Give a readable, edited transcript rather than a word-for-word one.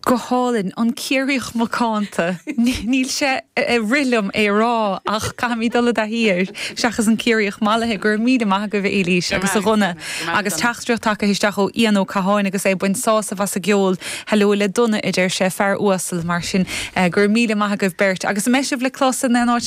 Go hálainn. An Ciarraíoch Macánta. Níl sé ag rith liom é a rá ach caithfidh mé dul i dtaithí air seachas an Ciarraíoch Mallaithe. Go raibh míle maith agaibh a Éilís agus a Dhonna. Agus teachtaireacht tagtha isteach ó Ian Ó Catháin agus é ag baint sásamh as an gceol. Hello le Donna a deir sé, fear uasal mar sin. Go raibh míle maith agaibh beirt. Agus an mbeidh sibh le clos in aon áit?